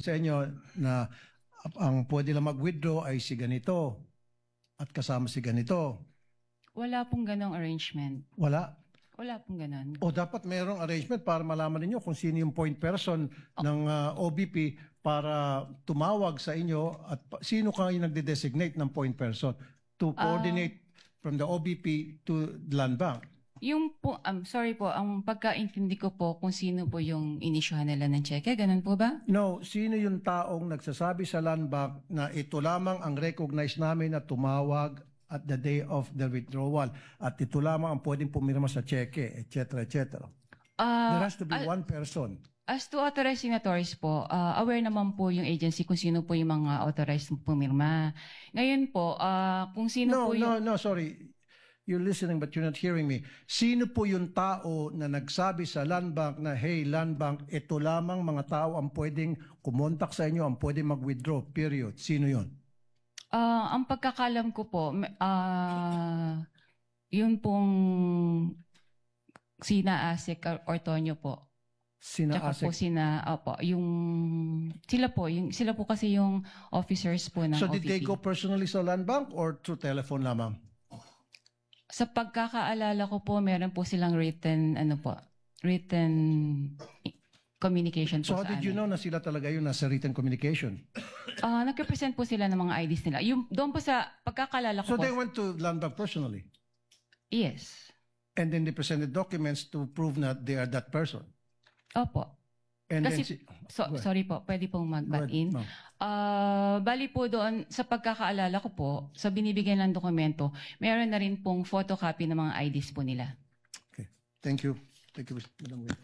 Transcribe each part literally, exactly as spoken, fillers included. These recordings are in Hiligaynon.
sa inyo na ang pwede lang mag-withdraw ay si ganito at kasama si ganito. Wala pong ganong arrangement. Wala? Wala pong ganon. O dapat mayroong arrangement para malaman ninyo kung sino yung point person ng ah, O B P para tumawag sa inyo at pa- sino kayo nagde-designate ng point person to coordinate from the O B P to the Land Bank. Yung po, um, sorry po, ang pagkaintindi ko po kung sino po yung inisyuhan nila ng cheque, ganun po ba? No, sino yung taong nagsasabi sa Land Bank na ito lamang ang recognize namin na tumawag at the day of the withdrawal at ito lamang ang pwedeng pumirma sa cheque, et cetera, et cetera. Ah, There has to be ah, one person. As to authorized signatories po, ah, aware naman po yung agency kung sino po yung mga authorized pumirma. Ngayon po, ah, kung sino No, po yung no, no, sorry. You're listening but you're not hearing me. Sino po yung tao na nagsabi sa Land Bank na, "Hey, Land Bank, ito lamang mga tao ang pwedeng kumontak sa inyo, ang pwedeng mag-withdraw, period." Sino yun? Ah, ang pagkakalam ko po, m- ah, yun pong sina Asik or Ortonio po. Sina Tsaka po Asik? Sina, opo, yung, sila po, yung, sila po kasi yung officers po ng So did they O V P. Go personally sa Land Bank or through telephone lamang? Sa pagkakaalala ko po, meron po silang written, ano po, written communication po So how sa did you amin. Know na sila talaga yung nasa written communication? Ah, nag-represent po sila ng mga I Ds nila. Yung, doon po sa pagkakaalala ko So po, they went to Land Bank personally? Yes. And then they presented documents to prove that they are that person. Opo. And Kasi, then si- so, Go ahead. Sorry po, pwede pong mag-butt Go ahead, in. Ma'am. Ah, bali po doon, sa pagkakaalala ko po, sa binibigyan ng dokumento, meron na rin pong photocopy ng mga I Ds po nila. Okay. Thank you. Thank you, Madam Win.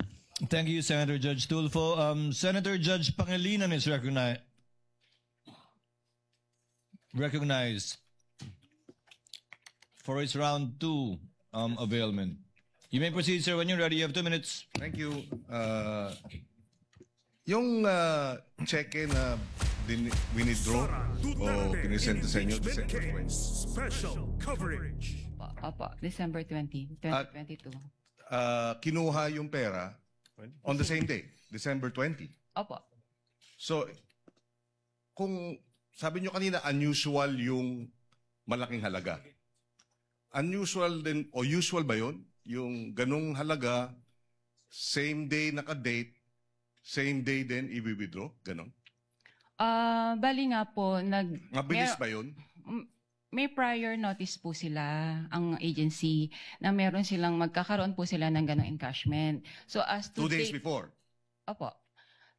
Thank you, Senator Judge Tulfo. Um, Senator Judge Pangilinan is recognized. Recognized for his round two um, availment. You may proceed, sir, when you're ready. You have two minutes. Thank you. Uh, yung uh, cheque na din, winidraw Sara o Duterte pinisenta sa inyo impeachment December case, twenty. Special coverage. Opo, December twenty, At- twenty twenty-two. Uh, kinuha yung pera on the same day, December twenty. Opo. So, kung sabi nyo kanina, unusual yung malaking halaga. Unusual din, o usual ba yun? Yung ganong halaga, same day naka-date, same day din i-withdraw? Ganon? Ah, bali nga po, nag- Mabilis mer- ba yun? M- may prior notice po sila, ang agency, na meron silang magkakaroon po sila ng ganong encashment. So as to Two days date- before? Opo.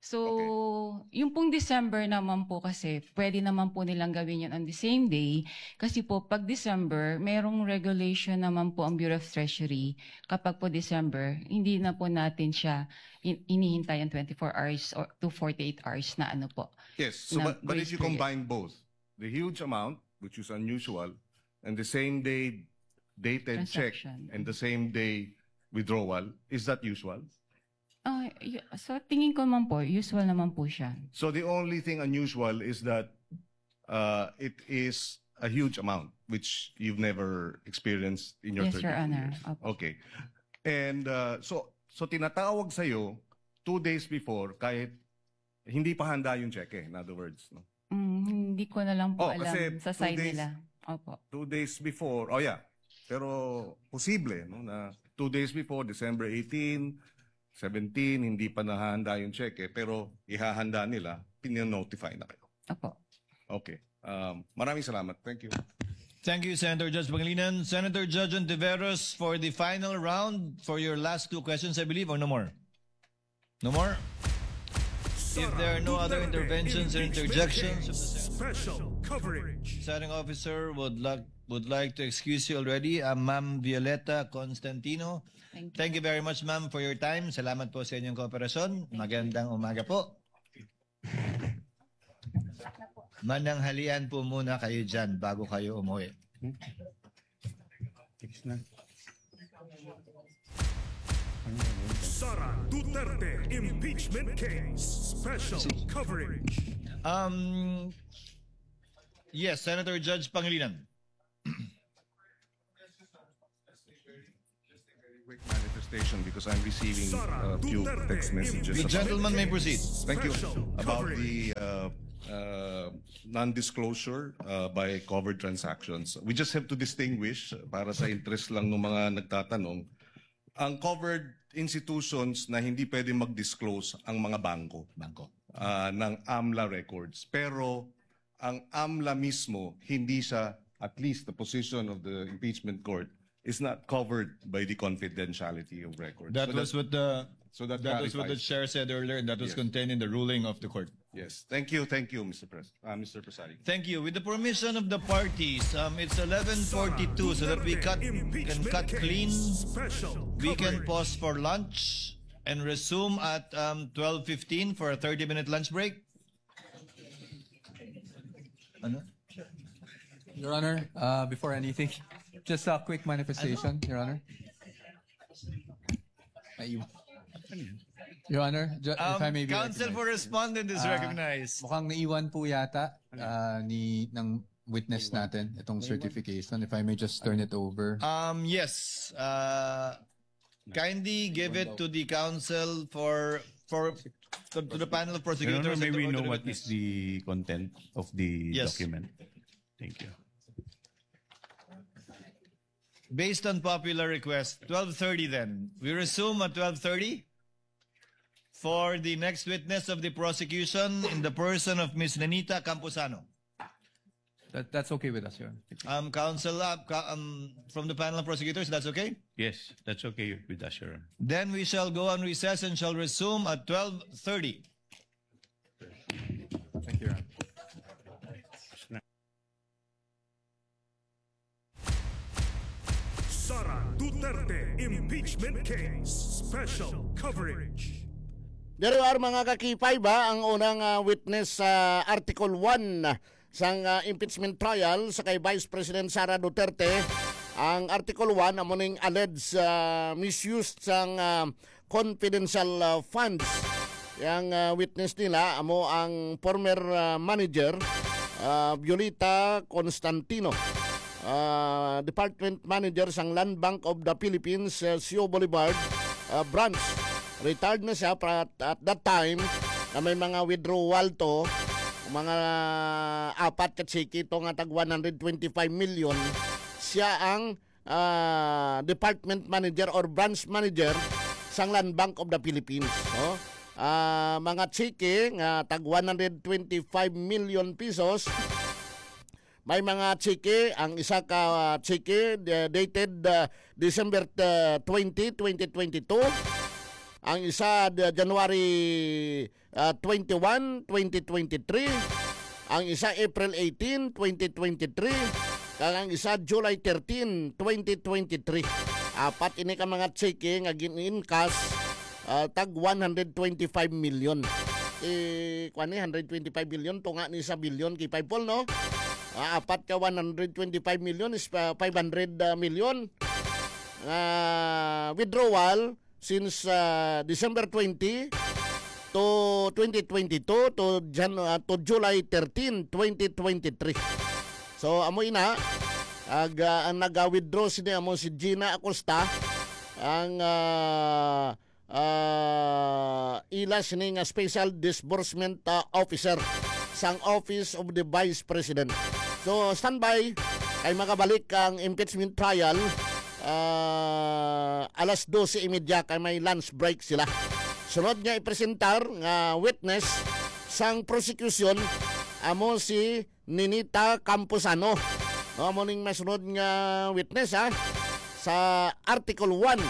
So, Okay. Yung pong December naman po kasi, pwede naman po nilang gawin yun on the same day. Kasi po, pag December, merong regulation naman po ang Bureau of Treasury. Kapag po December, hindi na po natin siya in- inihintay ang twenty-four hours or to forty-eight hours na ano po. Yes, so na but, but if grace you period. Combine both, the huge amount, which is unusual, and the same day dated check Transaction. And the same day withdrawal, is that usual? Ah, y- so tingin ko naman po, usual naman po siya. So the only thing unusual is that uh, it is a huge amount which you've never experienced in your Yes, Your thirty-two Honor. Years. Opo. Okay. And uh, so so tinatawag sa iyo two days before kahit hindi pa handa yung cheque, in other words, no? Mm, hindi ko na lang po Oh, alam kasi sa two side days- nila. Opo. Two days before, oh yeah. Pero posible, no, na two days before, December eighteen, seventeen, hindi pa nahahanda yung cheque, pero ihahanda nila, pinonotify na kayo. Opo. Okay. Um, maraming salamat. Thank you. Thank you, Senator Judge Pangilinan. Senator Judge Ontiveros, for the final round, for your last two questions, I believe, or no more? No more? If there are no other Duterte interventions or impeachment interjections case, of the Senate, special coverage. Presiding officer would like would like to excuse you already, uh, Ma'am Violeta Constantino. Thank you. Thank you very much, ma'am, for your time. Salamat po sa inyong kooperasyon. Thank you. Magandang umaga po. Mananghalian po muna kayo dyan bago kayo umuwi. Tiis na. Sara Duterte impeachment case, special coverage. Um, yes, Senator Judge Pangilinan. Just a very, just a very quick manifestation. Station because I'm receiving a few text messages. The gentleman may proceed. Thank you. About the uh, uh, non-disclosure uh, by covered transactions. We just have to distinguish, uh, para sa interest lang ng mga nagtatanong, ang covered institutions na hindi pwede mag-disclose ang mga bangko, bangko, uh, ng AMLA records. Pero ang AMLA mismo, hindi siya, at least the position of the impeachment court, is not covered by the confidentiality of records. That So was that- what the so that that was what the clarifies. Chair said earlier, and that was Yes. contained in the ruling of the court. Yes. Thank you. Thank you, Mister Pres- uh, Mister Presiding. Thank you. With the permission of the parties, um, it's eleven forty-two, so that we cut can cut clean. We can pause for lunch and resume at um, twelve fifteen for a thirty-minute lunch break. Ano? Your Honor, uh, before anything, just a quick manifestation, Your Honor. Naiwan. Your Honor, ju- if I may be Counsel recognized. for respondent is Ah, recognized. Mukhang naiwan po yata uh, ni ng witness natin itong certification. If I may just turn it over. Um, yes. Uh, kindly give it to the counsel for for to, to the panel of Your prosecutors. Honor, And may to, we to know the what witness. is the content of the Yes. document? Thank you. Based on popular request, twelve thirty then. We resume at twelve thirty for the next witness of the prosecution in the person of Miss Nenita Camposano. That, that's okay with us, Your Honor. Um, counsel, uh, ca- um, from the panel of prosecutors, that's okay? Yes, that's okay with us, Your Honor. Then we shall go on recess and shall resume at twelve thirty. Thank you, Your Honor. Sara Duterte Impeachment Case Special Coverage. Diri ar mga kakipay ba ang unang ah, witness sa Article one sang ah, impeachment trial sa kay Vice President Sara Duterte. Ang Article one amo ning alleged ah, misuse sang ah, confidential ah, funds. Yang ah, witness nila amo ang former ah, manager ah, Violeta Constantino, ah, department manager sang Land Bank of the Philippines, ah, Sio Boulevard ah, branch. Retired na siya, pero at, at that time na may mga withdrawal to, mga apat ka tseke to nga tag one hundred twenty-five million. Siya ang ah, department manager or branch manager sang Land Bank of the Philippines, no? Ah, mga tseke nga tag one hundred twenty-five million pesos. May mga tseke, ang isa ka tseke, uh, dated uh, December uh, twenty, twenty twenty-two. Ang isa uh, January uh, twenty-one, twenty twenty-three. Ang isa April eighteen, twenty twenty-three. Kag ang isa July thirteen, twenty twenty-three. Apat ini ka mga tseke nga gin-encash uh, tag one hundred twenty-five million. Eh, kuan ni, hundred twenty-five billion, tunga ni sa billion kay Paipol, no? Ah, apat ka one hundred twenty-five million is uh, five hundred million. Uh, withdrawal since uh, December twenty to twenty twenty-two to Jan uh, to July thirteen, twenty twenty-three. So amo ina ag uh, ang naga-withdraw sini amo si Gina Acosta, ang uh, uh, ila sini nga special disbursement uh, officer sang Office of the Vice President. So standby kay magabalik ang impeachment trial uh, alas dose y media kay may lunch break sila. Sunod nga ipresentar nga witness sang prosecution amo si Ninita Camposano. No, amo ning masunod nga witness ha sa Article one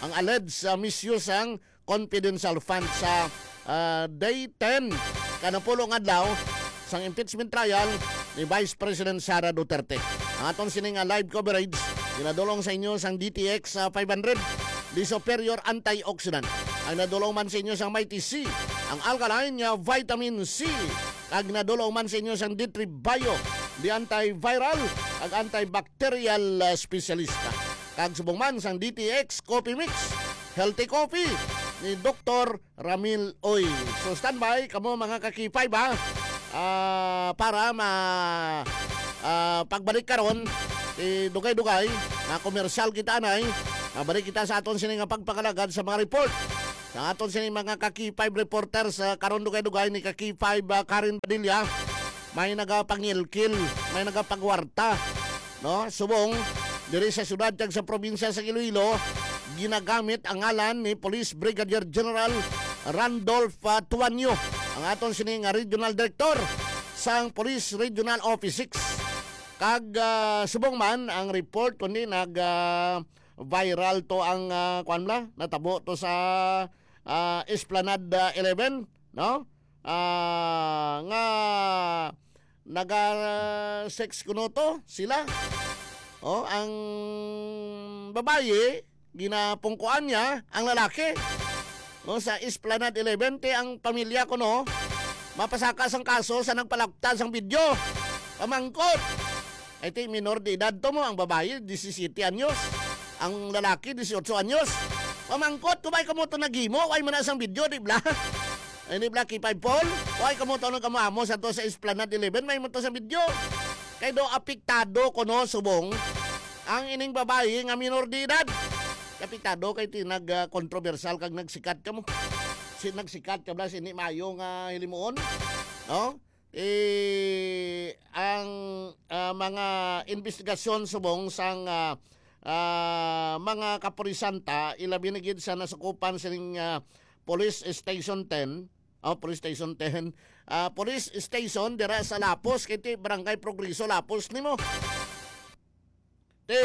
ang alleged sa misuse sang confidential fund sa uh, day ten kanapulong adlaw sang impeachment trial ni Vice President Sara Duterte. Ang aton sini nga live coverage ginadulong sa inyo sang D T X uh, five hundred, the superior antioxidant. Ang nadulong man sa inyo sang Mighty C, ang alkaline nga vitamin C. Kag nadulong man sa inyo sang D three Bio, the antiviral kag antibacterial uh, specialista. Kag subong man sang D T X Coffee Mix, healthy coffee ni Doktor Ramil Oy. So standby kamo mga kakipay ba? Ah, para ma ah, pagbalik karon, eh, dugay-dugay, mga komersyal kita anay, Mabalik kita sa aton sini nga pagpangalagad sa mga report. Sa aton sini mga ka-K five reporters, ah, karon dugay-dugay ni ka-K five, ah, Karen Padilla, may nagapangilkil, may nagapagwarta, no? Subong diri sa syudad kag sa probinsya sa Iloilo, ginagamit ang ngalan ni Police Brigadier General Randolph, ah, Tuanyo, ang aton sini nga regional director sang Police Regional Office six. Kag, ah, subong man ang report, kundi nag, ah, viral to ang, ah, kuwan bala, natabo to sa, ah, Esplanade, ah, eleven, no? Ah, nga naga-sex kuno to sila. Oh, ang babayi, ginapungkuan niya ang lalaki. Oh, sa Esplanade eleven, ti ang pamilya kuno mapasaka sang kaso sa nagpalapta sang video. Pamangkot. Ay, ti minor de edad to mo, ang babayi, disisiyete anyos. Ang lalaki, disiotso anyos. Pamangkot, kung may kamo to naghimo, way man na sang video, di bala? Ay, di bala, K five Paul? Way kamo to nang kamo amo sa to sa Esplanade eleven, may mo to sa video. Kay do apektado kuno, subong ang ining babayi nga minor de edad. Apektado kay ti nag, ah, kontrobersyal kag nagsikat kamo. Si nagsikat ka bala, sini maayo nga hilimuon, no? Eh, ang, ah, mga investigasyon subong sang, ah, ah, mga kapulisan ta, ilabi na gid sa nasakupan sining, ah, Police Station ten, oh, Police Station ten, ah, Police Station dira sa Lapos, kay ti Barangay Progreso, Lapos nimo. Ti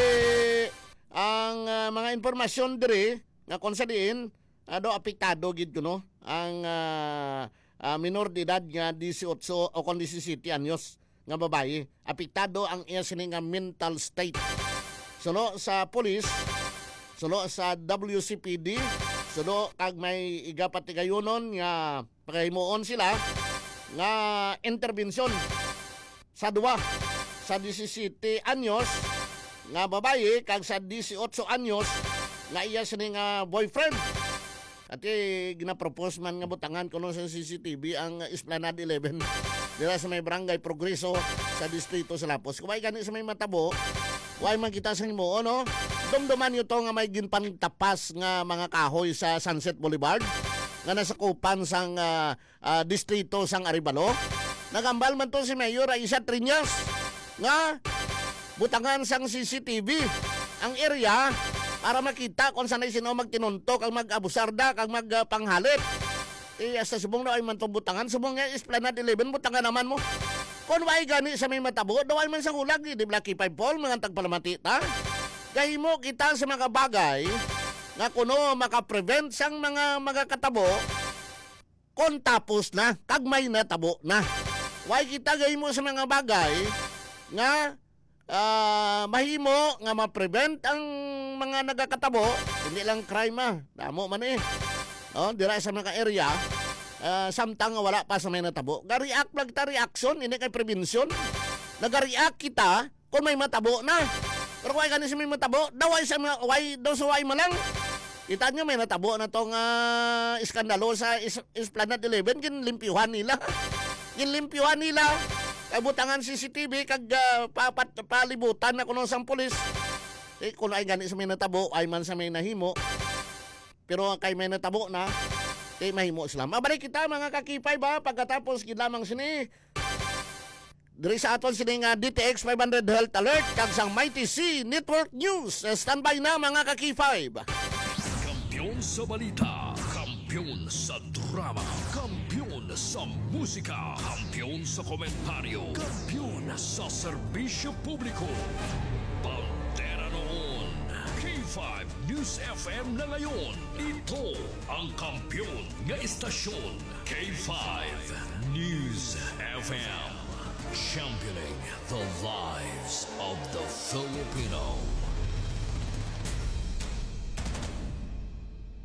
ang, ah, mga impormasyon diri nga kung sa diin, ah, do apektado gid kuno ang, ah, ah, minor de edad nga disiotso o kon disisiyete anyos nga babayi. Apektado ang iya sini nga mental state. Suno sa pulis, suno sa W C P D, suno kag may igapatigayonon nga pagahimuon sila nga interbensyon sa duwa, sa disisiyete anyos nga babayi kag sa disiotso anyos nga iya sini nga boyfriend. Ati, ginapropose man nga butangan kuno sa C C T V ang Esplanade eleven dira sa may Barangay Progreso sa distrito sa Lapos. Kung way gani sa may matabo, way man kita sa himuon, no? Dumduman niyo to nga may ginpantapas nga mga kahoy sa Sunset Boulevard nga nasakupan sang, ah, ah, distrito sang Arevalo. Nagambal man to si Mayor Aisha Triñas nga butangan sang C C T V ang area para makita kung sanay sino magtinunto kag mag-abusarda kag mag, ah, panghalit. Eh, sa subong na ay man tong butangan, subong nga Esplanade eleven, butangan naman mo. Kung way gani sa may matabo, daw ay man sa hulag, di ba, K five Paul, mga tagpalamati ta? Gahimo kita sa mga bagay nga kuno makaprevent sang mga magakatabo, kon tapos na, kag may natabo na. Way kita gahimo sa mga bagay nga, ah, mahimo nga ma-prevent ang mga nagakatabo, hindi lang crime, ah. Damo man, eh. Oh, dira sa mga area, ah, samtang nga wala pa sa may natabo. Ga-react lang ta, reaction, hindi kay prevention. Naga-react kita, kung may matabo na. Pero kung ay gani sa may matabo, daw ay sa mga, way, daw sa way malang. Kita nyo, may natabo na tong, ah, iskandalo sa is-, Esplanade eleven, ginlimpyuhan nila. Ginlimpyuhan nila. Kay butangan C C T V, kag, ah, pa-, pa-, palibutan na kuno sang pulis. Eh, kung ay gani sa may natabo, ay man sa may nahimo. Pero kay may natabo na, eh, mahimo sila. Mabalik kita, mga ka-K five, ha, pagkatapos gid lamang sini. Diri sa aton sini nga D T X five hundred Health Alert kag sang Mighty C Network News. Eh, standby na, mga ka-K five. Kampiyon sa balita, kampiyon sa drama, kampiyon sa musika, kampiyon sa komentaryo, kampiyon sa serbisyo publiko. Bandera noon, K five News F M na ngayon. Ito ang kampiyon nga istasyon, K five News F M. Championing the lives of the Filipino.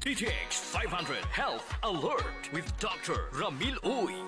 D T X five hundred Health Alert with Doctor Ramil Uy.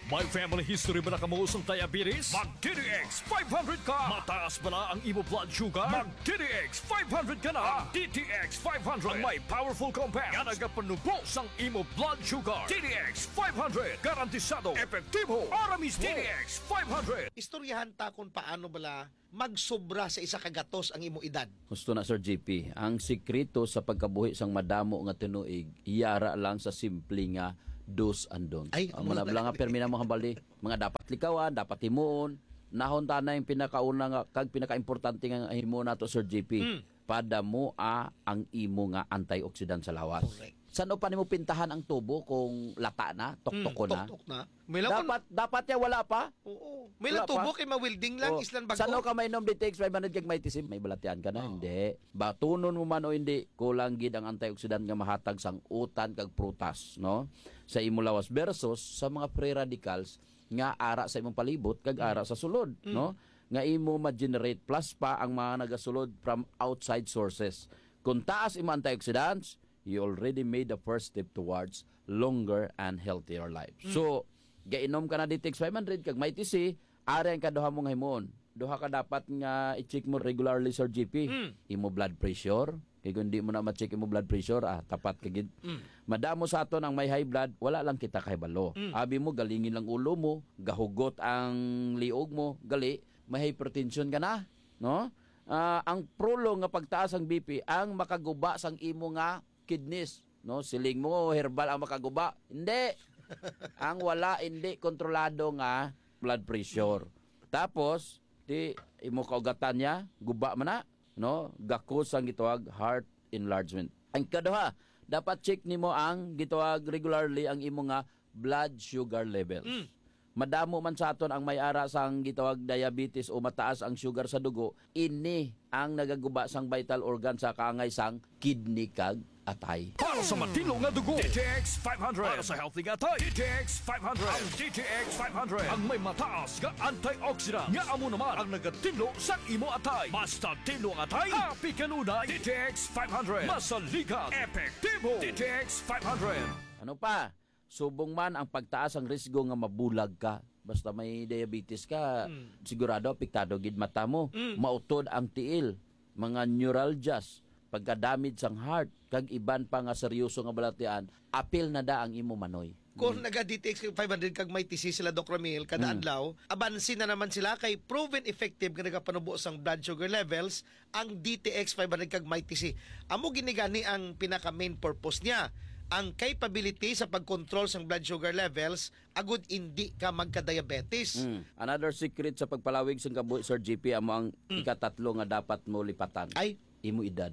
May family history ba na kamo sang diabetes? Mag D T X five hundred ka! Mataas ba na ang imo blood sugar? Mag D T X five hundred ka na! Ang D T X five hundred ang may powerful compound nga nagapanubo sang imo blood sugar. D T X five hundred, garantisado, epektibo, para mismo. D T X five hundred. Istoryahan ta kung paano bala magsobra sa isa ka gatos ang imo edad. Gusto na, Sir G P, ang sikreto sa pagkabuhi sang madamo nga tinuig, yara lang sa simple nga do's and don'ts. Ay, Ang amo mga na bala nga lang. Permi na mo hambal di, mga dapat likawan, dapat himuon. Nahon ta na yung pinakauna nga, kag pinakaimportante nga himuon nato, Sir G P. Mm. Padamua ang imo nga antioxidant sa lawas. Correct. San-o pa nimo pintahan ang tubo kung lata na, tuktok Mm, ko na? tuktok na. May laban. Dapat, dapat ya wala pa. Oo. May Wala lang tubo pa? kay ma-welding lang, Oh, islan bago. San-o ka mainom D T X five hundred kag may tisim? May balatian ka na? Oo. Hindi. Batunon mo man o hindi, kulang gid ang antioxidant nga mahatag sang utan kag prutas, no? Sa imo lawas versus sa mga free radicals nga ara sa imong palibot kag Mm. ara sa sulod, Mm. no? Nga imo ma-generate plus pa ang mga nagasulod from outside sources. Kung taas imo antioxidants, you already made the first step towards longer and healthier life. Mm. So, gainom ka na D T X five hundred kag may T C, ari ang kaduha mong himuon. Duha ka dapat nga i-check mo regularly, Sir G P. Mm. Imo blood pressure. Kay kung di mo na ma-check imo blood pressure, ah, tapat ka gid. Mm. Madamo sa aton ang may high blood, wala lang kita kahibalo. Mm. Abi mo, galingin lang ulo mo, gahugot ang liog mo, gali, may hypertension ka na, no? Ah, ang prolong nga pagtaas ang B P ang makaguba sang imo nga kidneys, no? Siling mo, herbal ang makaguba. Hindi. Ang wala, hindi kontrolado nga blood pressure. Tapos, di imo kaugatan niya, guba man na, no? Gakos ang gitawag heart enlargement. Ang kaduha, dapat check nimo ang gitawag regularly ang imo nga blood sugar levels. Mm. Madamo man sa aton ang may ara sang gitawag diabetes o mataas ang sugar sa dugo, ini ang nagaguba sang vital organ sa kaangay sang kidney kag atay. Para sa matinlo nga dugo, D T X five hundred. Para sa healthy nga atay, D T X five hundred. Ang D T X five hundred ang may mataas nga antioxidant nga amo naman ang nagatinlo sa imo atay. Basta tinlo ang atay, happy kanunay. D T X five hundred. Masaligan, epektibo. D T X five hundred. Ano pa? Subong man ang pagtaas ang risgo nga mabulag ka. Basta may diabetes ka, Mm. sigurado apektado gid mata mo. Mm. Mautod ang tiil, mga neuralgias, pagka-damage sang heart, kag iban pa nga seryoso nga balatian, apil na da ang imo manoy. Kung Mm. naga D T X five hundred kag may T C sila, Doc Ramil, kada Mm. adlaw, abansi na naman sila kay proven effective nga nagapanubo sang blood sugar levels ang D T X five hundred kag may T C. Amo gini gani ang pinaka main purpose niya, ang capability sa pag-control sang blood sugar levels agud indi ka magka-diabetes. Mm. Another secret sa pagpalawig sang kabuhi, Sir G P, amo ang Mm. ikatatlo nga dapat mo lipatan. Ay. Imo edad.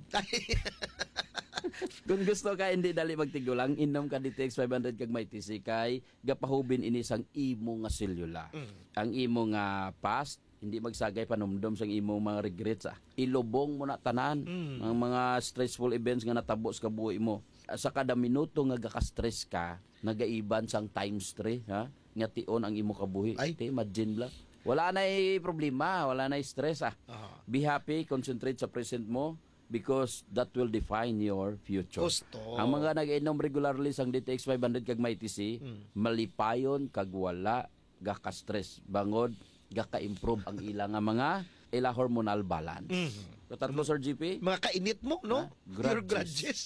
Kung gusto ka hindi dali magtigulang, inom ka D T X five hundred kag may T C kay gapahubin ini sang imo nga selula. Mm. Ang imo nga past, hindi magsagay panumdom sang imo mga regrets, ah. Ilubong mo na tanan Mm. ang mga stressful events nga natabo sa kabuhi mo. Sa kada minuto nga gaka-stress ka, nagaiban sang times three, ha? Nga tion ang imo kabuhi. Ay. Te, imagine lang. Wala na'y problema, wala na'y stress, ah. Aha. Be happy, concentrate sa present mo because that will define your future. Gusto. Ang mga nag-inom regularly sang D T X five hundred kag may T C, Mm. malipayon kag wala gaka-stress bangod gaka-improve ang ila nga mga ila hormonal balance. Mhm. Katatlo, Sir G P? Mga kainit mo, no? Ha? Pure Grudges. grudges.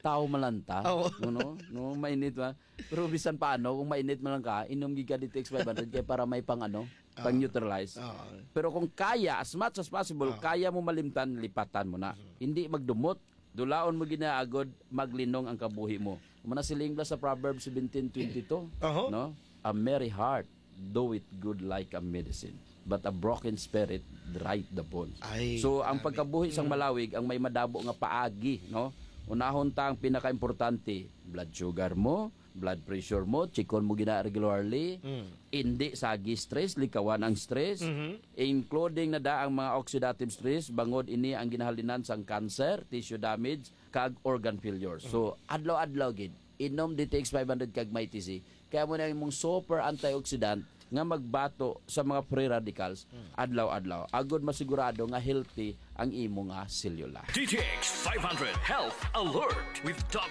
Tao man lang ta. Oo. No, no? No, mainit ba? Pero bisan paano, kung mainit man lang ka, inom gid ka D T X five hundred kay para may pang ano, Ah. pang neutralize. Ah. Pero kung kaya, as much as possible, Ah. kaya mo malimtan, lipatan mo na. Mhm. Hindi magdumot. Dulaon mo ginaagod, maglinong ang kabuhi mo. Muna siling bala sa Proverbs seventeen twenty-two, Oho. no? "A merry heart doeth good like a medicine, but a broken spirit dryeth the bones." Ay, So, ang grabe. pagkabuhi sang Mm. malawig ang may madabo nga paagi, no? Unahon ta ang pinakaimportante, blood sugar mo, blood pressure mo, chikon mo gina regularly, Mm. indi sagi stress, likawan ang stress, Mhm. including na da ang mga oxidative stress, bangod ini ang ginahalinan sang cancer, tissue damage, kag organ failure. So, Mm. adlaw-adlaw gid, inom D T X five hundred kag may T C. Kaya mo na imong super antioxidant nga magbato sa mga free radicals Mm. adlaw-adlaw. Agod masigurado nga healthy ang imo nga selula. D T X five hundred Health Alert with Doctor